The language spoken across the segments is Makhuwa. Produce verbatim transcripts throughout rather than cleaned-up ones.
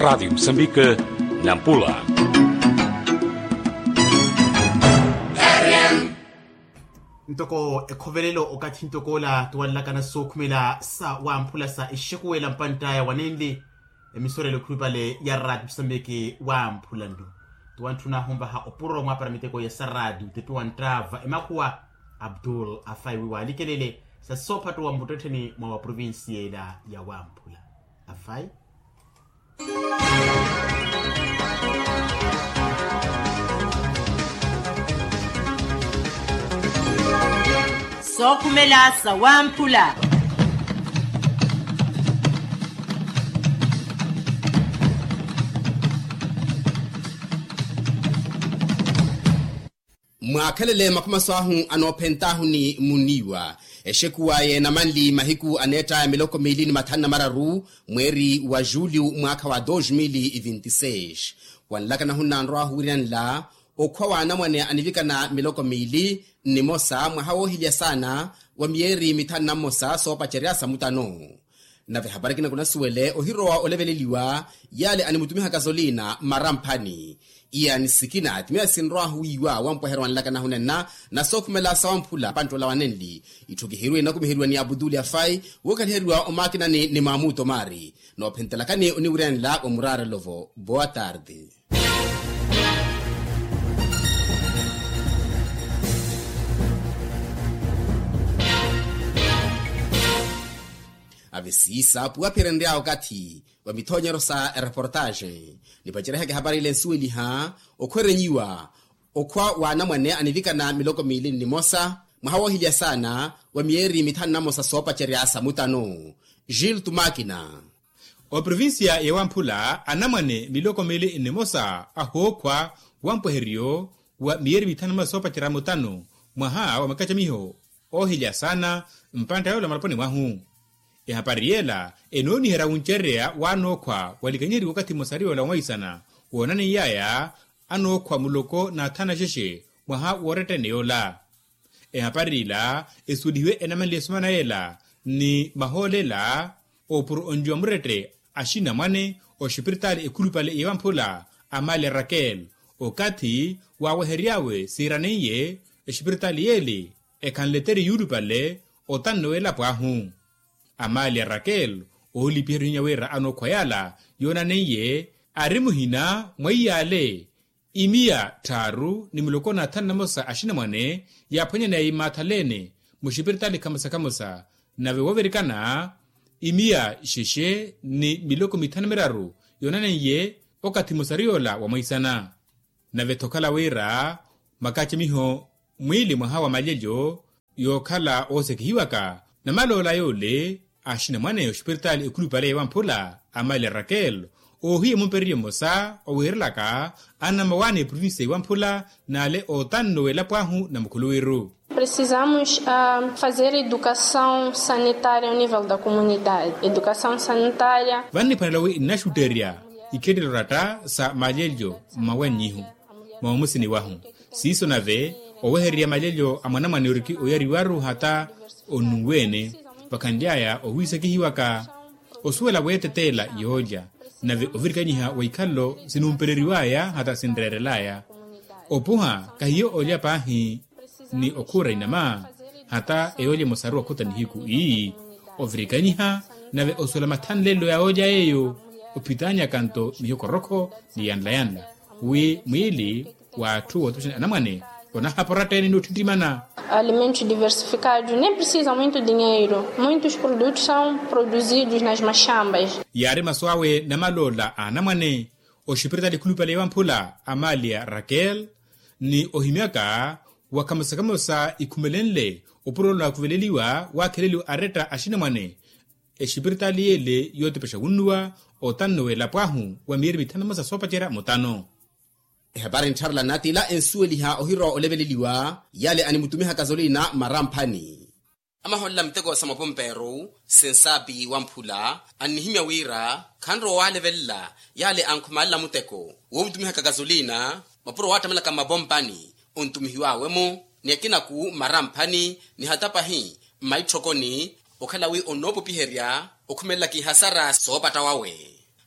Radiyo musambika, nampula. Ntoko ekhovelelo okathi ntokoola tuwanlakana sookhumela sa wamphula sa exekuwela mpantt'aya wanenli. Emisorelo ekhulupale ya radiyo musambiki wamphula nno tuwantthuna ahunvaha opuro mwaapara miteko ya sa radiyo tepi wa nttaava emakhuwa. Abdul afai wi waalikelele sa soophattuwa mmuttettheni mwa waprovincia ela ya wamphula. Afai. Sookhumela sa wamphula. Mwaakhelele makhumaso ahu anoophent'ahu ni muniiwa exekuw'aya enamanli mahiku aneett'aya miloko miili ni mathanu na mararu mweeri wa julio mwaakha wa dos mil vinti seis. Wanlakana hunnanrw'ahu wiriyanla okhwa w'anamwane anivikana miloko miili nnimosa mwaha woohilya saana wa miyeeri mithanu na mmosa soopacerya sa mutano. Nave ehapari ekina kunasuwele ohirowa oleveleliwa yaale animutumiha kasolina mmaramphani. Iya ni sikina timiya sinrw'ahu wiiwa wampweherya wanlakana hunenna na sookhumela sa wamphula mpantt'ola wanenli. Itthu kihiriwe inakumiheriwa ni abutuli afai wookhaliheriwa omaakinani ni maamuto maari noophentelakani oniwiryanela omuraarelo-vo boa tarde. Ave siisa puwaphirenrya okathi wa mithonyero sa ereportaxe. Nipacerya eheke ehapari ile nsuweliha okhwerenyiwa okhwa w'anamwane anivikana miloko miili nnimosa mwaha woohilya saana wa miyeeri mithanu na mmosa soopacerya sa mutano. Gil tumakina. Oprovincia ya wamphula anamwane miloko miili nnimosa ahookhwa wampweheryo wa miyeeri mithanu na mmosa soopacerya mutano mwaha wa makacamiho oohilya saana mpantta yoola malaponi mwahu. Ehapari yeela enooniherya wuncereya w'anookhwa walikanyeriwa okathi mmosa ari yoola wamwaisana woonaneiy'aya anookhwa muloko na athanu axexe mwaha woorettene yoola. Ehapari ila esuwelihiwe enamanli esomana yeela ni mahoolela opuro onjuwa murette axinamwane oxipiritaali ekhulupale ya wamphula amalia rakel okathi waawehery'awe siiraneiye exipiritaali yeele ekhanle eteri yuulupale otanno w'elapo ahu. Amalia rakel oolipiherya ohinya wira anookhwa yaala yoonaneiye ari muhina mwa iyaale imiya tthaaru ni muloko na athanu na mmosa axinamwane yaaphwanyaneya imaathalene muxipiritaali khamosa khamosa nave woovirikana imiya xexe ni miloko mithanu miraru yoonaneiye okathi mmosa ari yoola wamwaisana. Nave-tho okhala wira makacamiho mwiili mwaha wa malyelyo yookhala oosekihiwaka namaloola yoole axinamwane oxipiritaali ekhulupale ya wamphula amalia rakel oohiya mumpereryo mmosa owiirelaka anamawaani eprovinsiya ya wamphula n'ale ootanno w'elapo ahu na mukhuluwiru. Precisamos fazer educação sanitária ao nível da comunidade educação sanitária. Vanniphwanela wi nnaxutterya ikhettelo oratta sa malyelyo mmawannyihu mwa omusini wahu siiso nave owehererya malyelyo a mwanamwane oriki oyariwaru hata onnuweene vakhanly'aya owiisakihiwaka osuwela weeteteela yoolya nave ovirikanyiha wa ikhalelo sinumpeleriw'aya hata sinreerel'aya. Opuha kahiyo olya paahi ni okhuura inama hata eyoolya emosaru okhota nihiku ii ovirikanyiha nave osuwela mathanlelo ya yoolya yeeyo ophitanyaka nto mihokorokho ni yanla-yanla wi mwiili w'atthu wootuxana anamwane onahapora tteene n'ottittimana. Alimentos diversificados nem precisa muito dinheiro muitos produtos são produzidos nas maxambas. Yaari masu awe namaloola a anamwane oxipiritaali ekhulupale ya wamphula amalia rakel ni ohimyaka wa khamosa-khamosa ikhumelenle opuro ola waakuveleliwa waakheleliwa aretta axinamwane exipiritaali yeele yootepexa wunnuwa otanno w'elapo ahu wa miyeeri mithanu na mmosa soopacerya mutano. Ehapari nttharela nati ila ensuweliha ohirowa oleveleliwa yale animutumiha kasolina mmaramphani. Amaholela miteko sa mapomperu sensaapi wamphula annihimya wira khanrowa waalevelela yale ankhumalela muteko woomutumihaka kasolina mapuro waattamelaka mmapompani ontumihiw'awe-mo ni akinaku mmaramphani ni hata pahi mmaitthokoni okhala wi onnoopopiherya okhumelelaka ihasara soopatta wawe.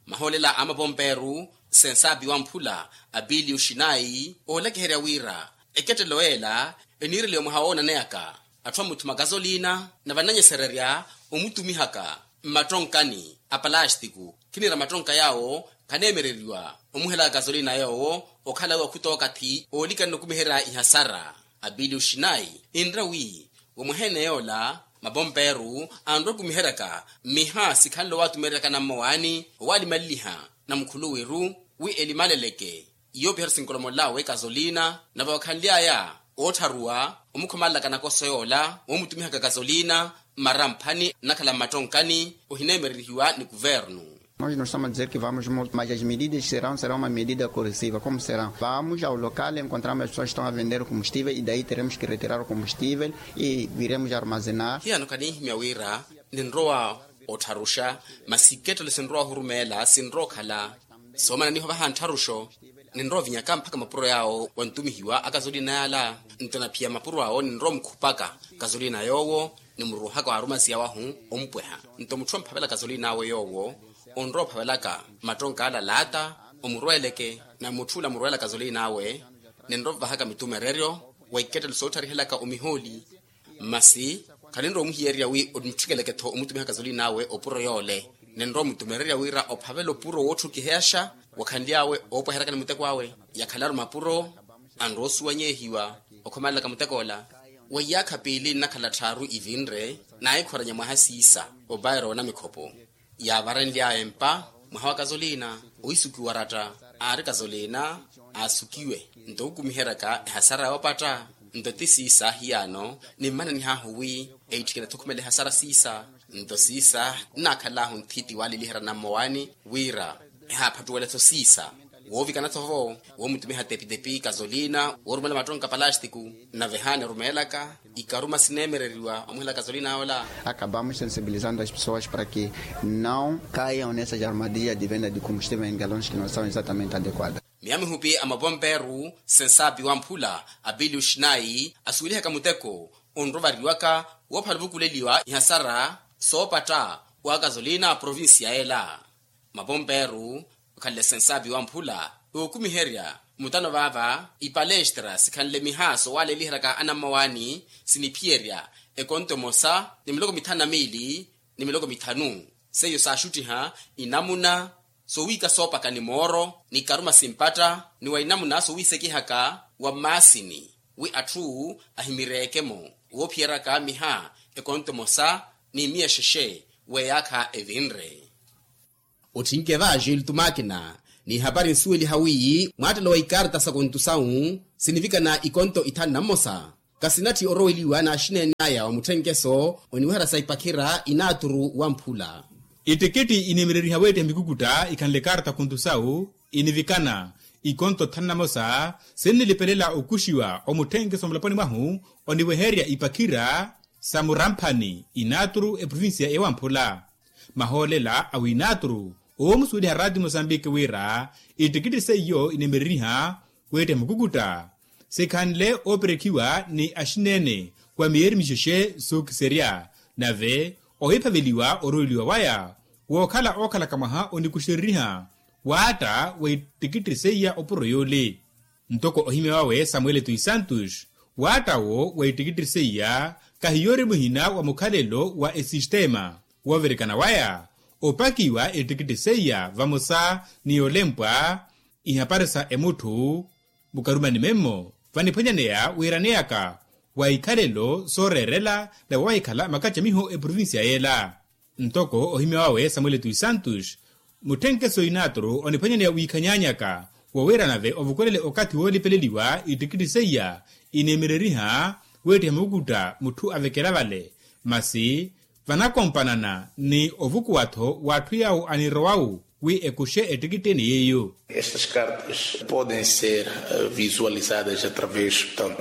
Mahoolela a mapompeeru sensaapi wamphula a piili oxinayi oolakiherya wira ekettelo ela eniireliwa mwaha woonaneyaka atthu amuthuma kazolina na vananyesererya omutumihaka mmattonkani a palastiku. Khiniira mattonka yaawo khaneemereriwa omuhelaka kazolina yoowo okhala wi okhuta okathi oolikana okumiherya ihasara. A piili oxinayi enre wi womweheene yoola mapompeeru anrowa okumiheryaka mmiha sikhanle owaatumereryaka anammowaani owaalimaleliha na mukhuluwiru wi elimaleleke yoopiherya sinkolomolelawe kazolina. Nave wakhanly'aya oottharuwa omukhomalelaka nakoso yoola woomutumihaka kazolina mmaramphani nnakhala mmattonkani ohineemererihiwa ni kuvernu. Nós não estamos a dizer que vamos mudar, mas as medidas que serão serão uma medida corrosiva como serão vamos ao local encontramos as pessoas que estão a vender o combustível e daí teremos que retirar o combustível e viremos armazenar. Hiyano khanihimya wira ninrowa ottharuxa masi kettelo sinrowa ohurumeela sinrowa okhala soomananiho vaha nttharuxo. Ninrowa ovinyaka mpakha mapuro yaawo wantumihiwa akazolina yaala nto naphiya mapuro awo ninrowa omukhupaka kazolina yoowo nimuruuhaka waarumaziya wahu ompweha nto mutthu omphavela kazolina awe yoowo onrowa ophavelaka mmattonka ala laata omurweeleke na mutthu ola murweela kazolina awe ninrowa ovahaka mitumereryo wa ikettelo soottarihelaka omihooli. Masi khaninrowa omuhiyererya wi omutthikeleke-tho omutumiha kazolina awe opuro yoole ninrowa omutumererya wira ophavela opuro wootthukiheyaxa wakhanly'awe oopweheryaka ni muteko awe. Yakhalaru mapuro anrowa osuwanyehiwa okhomalelaka muteko ola wa iyaakha piili nnakhala tthaaru ivinre naahikhoranya mwaha siisa opaero wa namikhopo yaavarenly'aya empa mwaha wa kazolina oisukiwa oratta aari kazolina aasukiwe nto okumiheryaka ehasara yoopatta. Nto ti siisa hiyano nimmananih'ahu wi eitthikene-tho okhumela ehasara siisa nto siisa nnaakhal'ahu nthiti waaleliherya nammowaani wira ehaaphattuwele-tho siisa woovikana-tho vo woomutumiha tepitepi kazolina woorumela mattonka palastiku. Nave haanirumeelaka ikaruma sineemereriwa omuhela kazolina ola. Acabamos sensibilizando as pessoas para que não caiam nessas armadilhas de venda de combustível em galões que não são exatamente adequadas. Miya mihupi a mapompeeru sensaapi wamphula a piili oxinayi asuwelihaka muteko onrovariwaka woophala ovukuleliwa ihasara soopatta wa kazolina a provincia ela. Mapompeeru okhanle sensaapi wamphula ookumiherya mutano vaava ipalestra sikhanle miha soowaaleliheryaka anammowaani siniphiyerya ekonto emosa ni miloko mithanu na miili ni miloko mithanu. Seiyo saaxuttiha inamuna sowiika soopaka ni mooro ni karuma simpatta ni wa inamuna sowiisekihaka wa mmaasini wi atthu ahimireeke-mo woophiyeryaka miha ekonto emosa ni miya exexe w'eyaakha evinre. Otthinke vaaji litumakina n'ihapari nsuweliha wi mwaattelo wa ikarta sa kontusawu sinivikana ikonto ithanu na mmosa kasinatthi oroweliwa n'axineene aya wa mutthenkeso oniweherya sa ipakhira inaaturu wamphula. Ittikitti inemereriha weettiha mikukutta ikhanle karta kontusawu inivikana ikonto thanu na mosa sinnilipelela okuxiwa omutthenkeso mulaponi mwahu oniweherya ipakhira sa muramphani inaaturu eprovincia ewamphula. Mahoolela a winaaturu oomusuweliha raati mosambiki wira ittikitti seiyo inemereriha weettiha mukukutta sikhanle ooperekhiwa ni axineene wa miyeeri mixexe sookiserya nave ohiphaveliwa oroweliwa waya wookhala ookhalaka mwaha onikuxereriha waatta wa ittikitti seiya opuro yoole. Ntoko ohimya wawe samuel tuisantus waatta wo wa ittikitti seiya kahiyoori muhina wa mukhalelo wa esistema woovirikana waya opakiwa ittikitti seiya vamosa ni yolempwa ihapari sa emutthu mukarumani memmo vaniphwanyaneya wiiraneyaka wa ikhalelo sooreerela nave wahikhala makacamiho eprovincia yeela. Ntoko ohimya wawe samuel tuisantus mutthenkeso inaaturu oniphwanyaneya wiikhanyanyaka wowira nave ovukulele okathi woolipeleliwa ittikiti seiya ineemereriha weettiha mukukutta mutthu avekela vale masi vanakompanana ni ovukuwa-tho w'atthu yawo anirowawu wi ekuxe ettikiti ene yeiyo. Estas cartas podem ser visualizadas através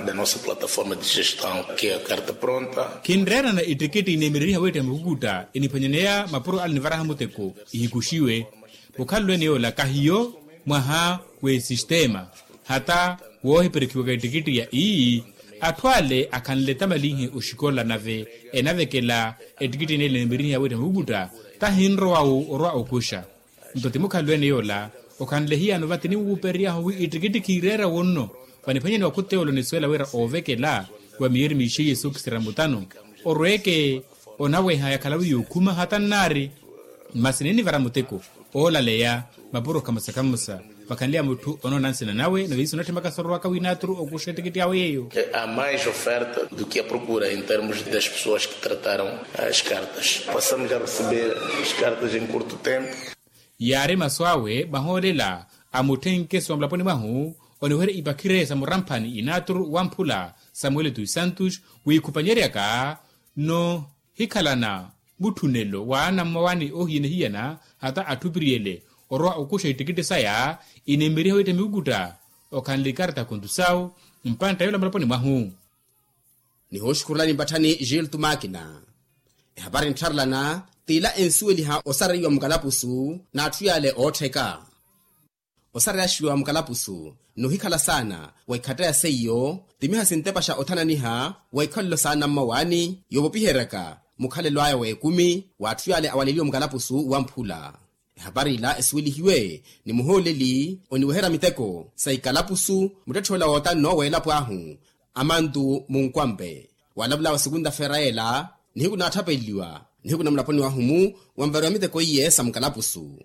da nossa plataforma de gestão que é a carta pronta. Khinreerana ettikiti ineemereriha weettiha mukukutta iniphwanyaneya mapuro ale nivaraha muteko ihikuxiwe mukhalelo ene yoola kahiyo mwaha w'esistema hata woohiperekhiwaka ettikiti ya ii atthu ale akhanle tamalinhe oxikola nave enavekela ettikiti ene yoola ineemereriha weettiha mukukutta tahinrowawu orwa okuxa. Nto ti mukhalelo ene yoola okhanle hiyano vati niwuuperery'ahu wi ittikittikhi ireera wonno vaniphwanyani wa khuteolo nisuwela wira oovekela wa miyeri miixeiye sookisira mutano orweeke onaweha yakhala wi yookhuma hata nnaari. Masi ninivara muteko oolaleya mapuro khamosa khamosa vakhanleya mutthu onoona nsina nawe nave isu onatthimaka sorowaka wi naaturu okuxa ettikitthi awe yeeyo. A mais oferta do que a procura em termos das pessoas que trataram as cartas. Passamos a receber as cartas em curto tempo. Yaari masu awe mwahoolela a mutthenkeso wa mulaponi mwahu oniwerya ipakhire sa muramphani inaaturu wamphula samuel tu santos wiikhupanyeryaka no hikhalana mutthunelo w'anammawaani oohiyana-hiyana hata atthu piriyele orowa okuxa ittikitthi saya. Inimiriha wiittha mikukutta okhanle ikarta khuntu sawu mpantta yoola mulaponi mwahu. Nihooxukhurulani mpatthani gilto makina. Ehapari nttharelana t'ila ensuweliha osareiwa mukalapusu n'atthu yaale oottheka. Osareyaxiwa mukalapusu n'uhikhala saana wa ikhatteya seiyo timiha sintepaxa othananiha wa ikholelo saana mmawaani yoovopiheryaka mukhalelo aya w'ekumi w'atthu yaale awaleliwe mukalapusu wamphula. Ehapari ila esuwelihiwe ni muhooleli oniweherya miteko sa ikalapusu muttetthola wootanno w'elapo ahu amantu munkwampe. Walavulawe sikunta feera yeela nihiku naatthapeliwa nihiku na mulaponi wahu-mu wanvariwa miteko iye sa mukalapusu.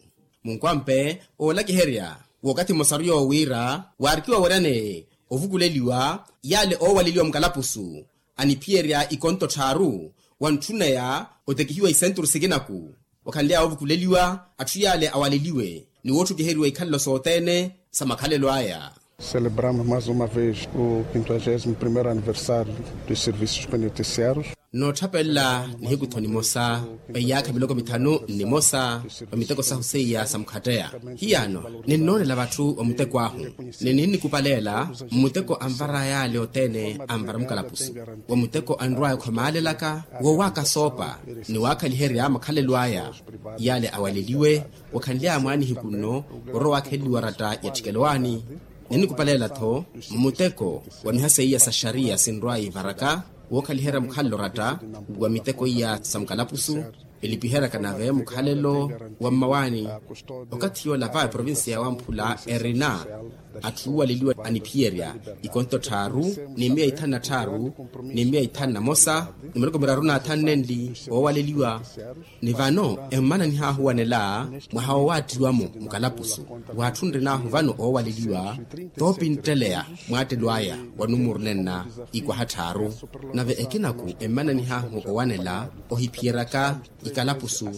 Munkwampe oolakiherya w'okathi mmosaru yoowiira waarikiwa weeryaneye ovukuleliwa yaale oowaleliwa mukalapusu aniphiyerya ikonto tthaaru wantthuneya otekihiwa isenturu sikinaku. Wakhanly'aya oovukuleliwa atthu yaale awaleliwe ni wootthukiheryiwa ikhalelo sothene sa makhalelo aya. Celebramos mais uma vez o quinquagésimo primeiro aniversário dos serviços penitenciários. Nootthapela nihiku-tho nimosa va iyaakha miloko mithanu nnimosa va miteko sahu seiya sa mukhatteya. Hiyano ninnoonela vatthu va muteko ahu ni ninnikupaleela mmuteko anvar'aya yaale othene anvara mukalapusu wa muteko anrw'aya okhomaalelaka woowaaka soopa ni waakhaliherya makhalelo aya yaale awaleliwe. Wakhanly'aya mwaanihiku nno orowa waakheleliwa oratta ya tthikelowaani. Ninnikupaleela-tho mmuteko wa miha seiya sa xariya sinrw'aya ivaraka wookhaliherya mukhalelo oratta wa miteko iya sa mukalapusu elipiheryaka nave mukhalelo wa mmawaani. Okathi yoola va eprovinsiya ya wamphula erina atthu oowaleliwa aniphiyerya ikonto tthaaru ni miya ithanu na tthaaru ni miya ithanu na mosa ni miloko miraru na tthanu nenli oowaleliwa. Ni vano emmananih'ahu owanela mwaha woowaattiwa-mo mukalapusu w'atthu nrin'ahu vano oowaleliwa toopintteleya mwaattelo aya wa numuru nenna ikwaha tthaaru. Nave ekinaku emmananih'ahu owanela ohiphiyeryaka ikalapusu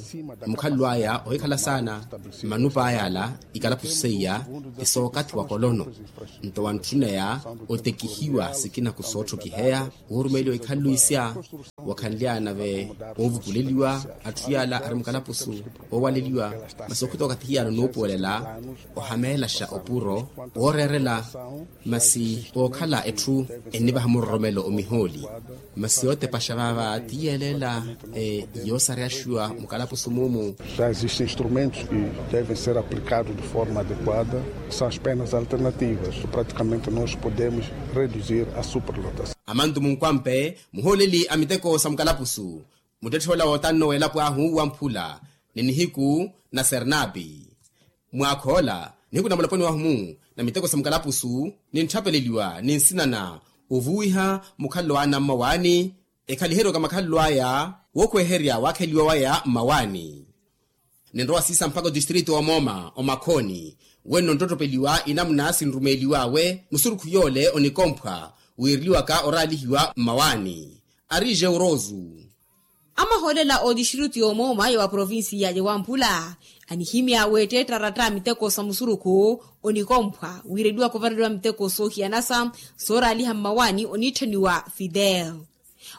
mukhalelo aya ohikhala saana mmanupa aya ala ikalapusu seiya ti sookathi wa kolono. Nto wantthuneya otekihiwa sikinaku sootthukiheya woorumeliwa ikhalelo isya wakhanly'aya nave woovukuleliwa atthu yaala ari mukalapusu oowaleliwa. Masi okhuta okathi hiyano nuupuwelela ohameelaxa opuro wooreerela masi ookhala etthu ennivaha muroromelo omihooli. Masi yootepaxa vaava ti yeeleela yoosareyaxiwa mukalapusu muumu. Já existem instrumentos que devem ser aplicados de forma adequada, são as penas alternativas. Praticamente nós podemos reduzir a superlotação. Amantu munkwampe muhooleli a miteko sa mukalapusu muttetthola wootanno w'elapo ahu wamphula ni nihiku na sernapi. Mwaakhoola nihiku na mulaponi wahu-mu na miteko sa mukalapusu nintthapeleliwa ni nsina na ovuwiha mukhalelo w'anammawaani ekhaliheryiwaka makhalelo aya wookhweherya waakheliwa waya mmawaani. Ninrowa siisa mpakha otistritu omooma omakhooni wenno nttottopeliwa inamuna sinrumeeliw'awe musurukhu yoole onikomphwa wiireliwaka oraalihiwa mmawaani. Ari jeurosu. Amahoolela otistritu yoomooma ya wa provinsiya ya wamphula anihimya weetteetta aratta a miteko sa musurukhu onikomphwa wiireliwaka ovareliwa miteko soohiyanasa sooraaliha mmawaani oniitthaniwa fidel.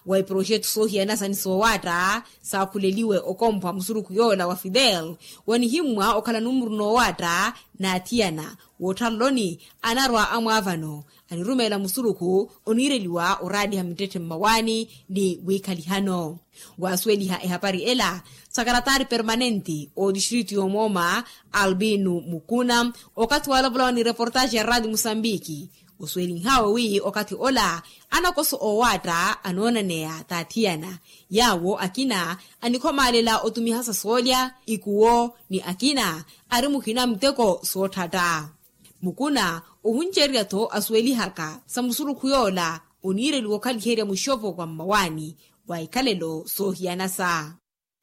Wa iproxetu soohiyanasa ni soowaatta saakhuleliwe okomphwa musurukhu yoola wa fidel wanihimmwa okhala numuru noowaatta n'athiyana woothareloni anarwa amwaavano anirumeela musurukhu oniireliwa oraaliha mittetthe mmawaani ni wiikhalihano. Waasuweliha ehapari ela sakaratari permanenti otistritu yoomooma albino mukuna okathi waalavulawa ni reportaxi ya raati musambiki Osuwelinhawe wi okathi ola anakoso oowaatta anoonaneya t'athiyana, yaawo akina anikhomaalela otumiha sa soolya, ikuwo ni akina ari muhina muteko sootthatta. Mukuna ohuncererya-tho asuwelihaka sa musurukhu yoola oniireliwa okhaliherya muxopo wa mmawaani wa ikhalelo soohiyana sa.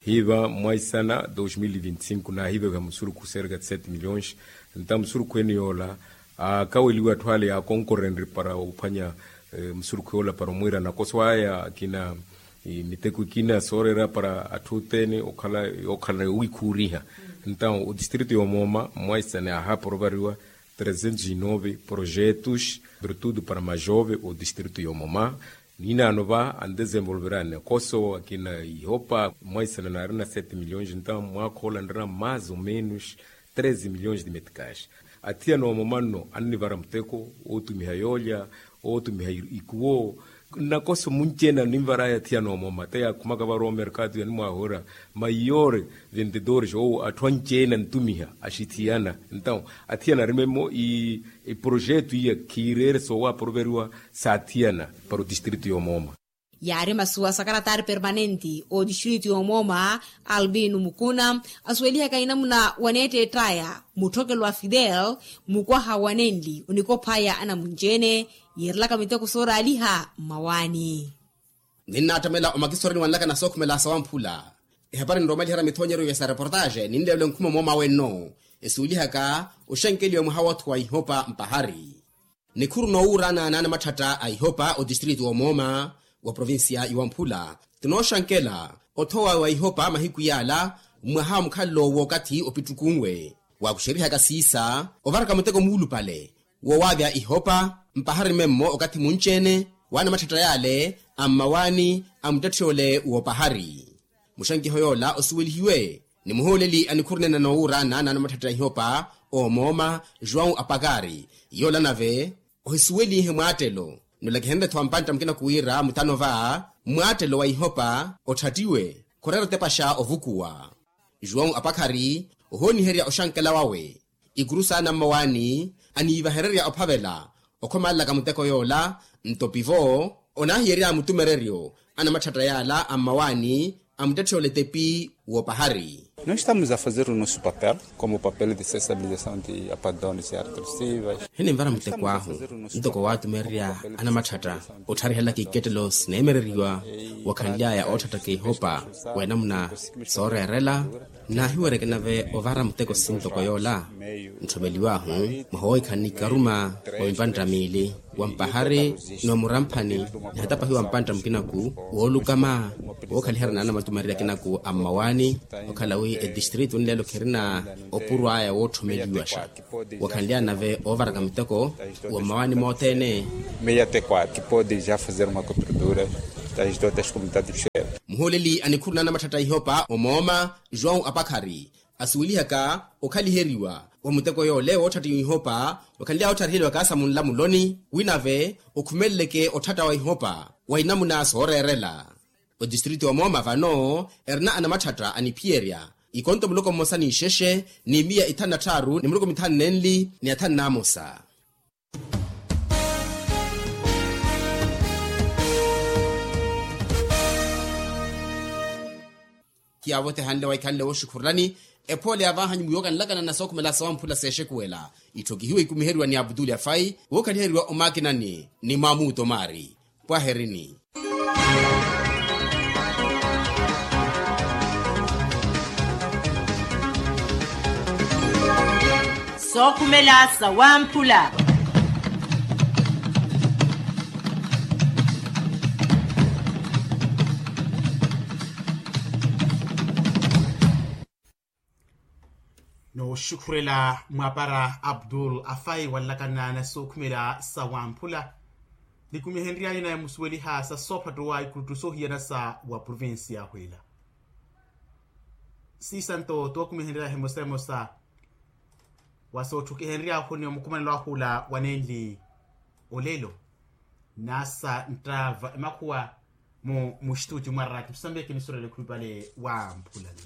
Hiiva mwaisana dos mil vinti cinco naahiivakiha musurukhu serka de sete milhões. Nta musurukhu ene yoola akaweliwa atthu ale yaakonkorenrye para ophwanya musurukhu yoola para omwiira nakoso aya akina miteko ikina sooreera para atthu othene okhala yookhala yoowikhuuriha. Nta odistrito yoomooma mwaisana yaahaapora ovariwa trezentos e nove projetos sobretudo para majove odistrito yoomooma. Ninaano va andesenvolverani akoso akina ihopa mwaisana naarina sete milhões nta mwaakha ola nrina mais ou menos treze milhões de meticais. Athiyana omooma nno annivara muteko ootumiha yoolya ootumiha ikuwo. Nnakoso munci-ene aninvar'aya athiyana omooma te yaakhumaka varowa omerkado yanimwaaha ora maiores vendedores ou atthu anci-ene antumiha axithiyana. Ntawo athiyana arimemo iprojeto iya khiireere soowaaporoveriwa saathiyana para odistrito yoomooma. Yaari masuwa sa karatari permanente oodistrito yoomooma albino mukuna asuwelihaka inamuna waneetteett'aya mutthokelo wa fidel mukwaha wa nenli onikoph'aya anamunci-ene yiirelaka miteko sooraaliha mmawaani. Ninnaattamela omakisoreni wanlaka na sookhumela sawamphula. Ehapari nroomaliherya mithoonyeryo ya sa reportaxe ninleelo enkhuma omooma wenno esuwelihaka oxenkeliwa mwaha wootho wa ihopa mpahari. Nikhuru noowuuraana n'anamathatta a ihopa otistrito woomooma wa provincia yowamphula tinooxankela othowa wa ihopa mahiku yaala mwaha wa mukhalelo w'okathi opittukunwe waakuxerihaka siisa ovaraka muteko muulupale woowaavya ihopa mpahari memmo okathi munci-ene w'anamathatta yaale a mmawaani a muttetthi ole w'opahari. Muxankiho yoola osuwelihiwe ni muhooleli a nikhuru nene noowuuraana n'anamathatta ihopa oomooma joão apakari yoola nave ohisuwelihe mwaattelo nolakihenle-tho wa mpantta mukina kuwiira mutano va mwaattelo wa ihopa otthattiwe khureera otepaxa ovukuwa. João apakhari ohooniherya oxankela wawe ikuru saana mmawaani aniivahererya ophavela okhomalelaka muteko yoola nto pivo onaahiyerya mutumereryo anamatthetta yaala a mmawaani a muttetthi ole tepi w'opahari. Nós estamos a fazer o nosso papel como papel de sensibilização de apaddones e artrosivas. Hininvara muteko ahu ntoko waatumererya anamatthetta ottharihelaka ikettelo sineemereriwa wakhanly'aya ootthetta keihopa w'enamuna sooreerela. Naahiwereke nave ovara muteko sintoko yoola ntthoveliw'ahu mwaha owiikhala ni karuma wa mpantta miili wa mpahari ni wa muramphani nihatapahiwa mpantta mukinaku woolukama wookhaliherya n'anamatumererya akinaku a mmawaani okhala wi etistritu nleelo khirina opuro aya wootthomeeliwaxa wakhanly'aya nave oovaraka muteko wa mmawaani mothene. Meia tequatro que pode já fazer uma cobertura das dotas comunidades do chefe. Muhooleli a nikhuru n'anamatthetta ihopa omooma joão apakhari asuwelihaka okhaliheriwa wa muteko yoole wootthattiwa ihopa wakhanly'aya oottharihelewaka sa munlamuloni wi nave okhumeleleke otthatta wa ihopa wa inamuna sooreerela. Otistrito omooma vano erina anamatthetta aniphiyerya ikonto muloko mmosa n'ixexe ni miya ithanu na tthaaru ni muloko mithanu nenli ni athanu namosa. Kiyaavotehanle waikhanle wooxukhurelani ephoole ya vaahanyu muyookanlakana na sookhumela sawamphula seexekuwela itthokihiwe ikumiheriwa ni abutuli afai wookhaliheriwa omaakinani ni mwamuuto maari. Pwaherini. Sookhumela sawamphula. Nooxukhurela mwapara abdul afai wanlakana na sookhumela sawamphula. Nikumihenry'aya inayo musuweliha sa soophattowa ikuttu soohiyana sa wa provincia ahweela siisanto tookumihenry'ahu emosa emosa wa sootthukihenry'ahu ni omukumanelo ahula wa nenli olelo. Nasa nttava emakhuwa mu muxituti mwarara kimusambiye kinisurele khulupale wamphulani.